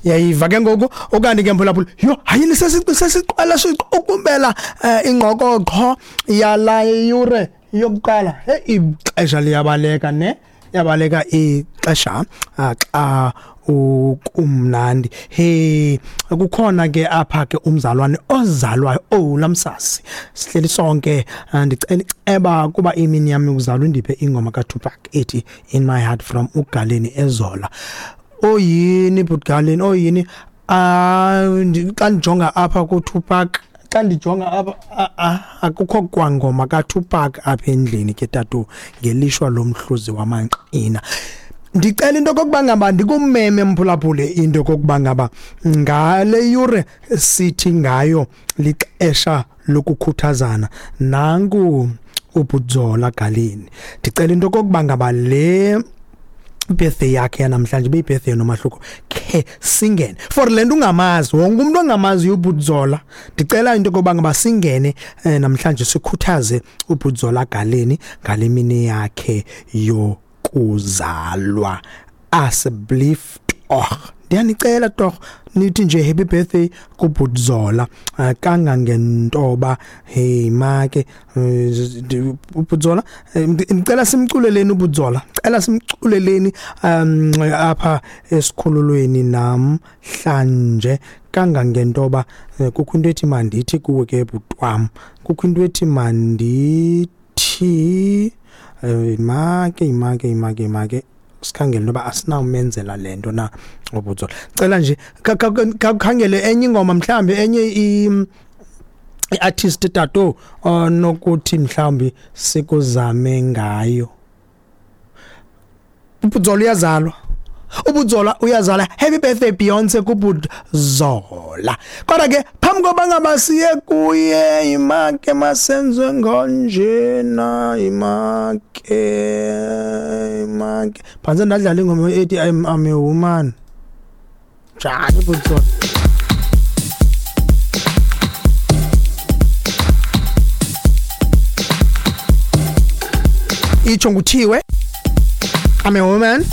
Yayiva ke ngoku ukanti ke mphulaphula, yho, hayini, sesiqala siqukumbela ingqokoqho yala yure yokuqala. Hey, ixesha liyabaleka ne, yabaleka ixesha xa ukumnandi. He, kukhona ke apha ke umzalwane ozalwayo, oh, lamsasi sihleli sonke. Ndicela iceba kuba imini yami yokuzalwa indiphe ingoma kaTupac ethi "In My Heart" from uGaleni Ezola. Oyini butgaleni, oyini? Xa ndijonga apha kuTupac, xa ndijonga apha, akukho kwangoma kaTupac apha endlini ke tatu, ngelishwa lomhluzi wamanqina. Ndicela into kokuba ngaba ndikumeme mphulaphule, into kokuba ngaba ngale yure sithi ngayo lixesha lokukhuthazana. Nanku uBudzola Galeni, ndicela into kokuba ngaba le birthday yakhe yanamhlanje ibe birthday nomahluko khe singene for le nto ungamazi wonke umuntu ongamaziyo uBudzola. Ndicela into yokuba ngaba singene namhlanje sikhuthaze uBudzola Galeni ngale mini yakhe yokuzalwa. Asseblief tog, ndiyanicela tog, nithi nje happy birthday kuBudzola kangangentoba. Hey make, uBudzola, ndicela simculeleni uBudzola, cela simculeleni apha esikhululweni namhlanje kangangentoba. Kukho into ethi mandithi kuwe ke butwam, kukho into ethi mandithi, make make make make sikhangele noba asinawumenzela le nto na uBudzola. Cela nje khangele enye ingoma, mhlawumbi enye i-artist tato onokuthi mhlawumbi sikuzame ngayo. uBudzola uyazalwa, uBudzola uyazala. Happy birthday Beyonce kuBudzola. Kodwa ke phambi koba ngaba siye kuye, imake masenze ngonjena, imake imake phantse ndadlala ingoma ethi I'm a Woman. Njani Budzola? Itsho nguthiwe "I'm a Woman".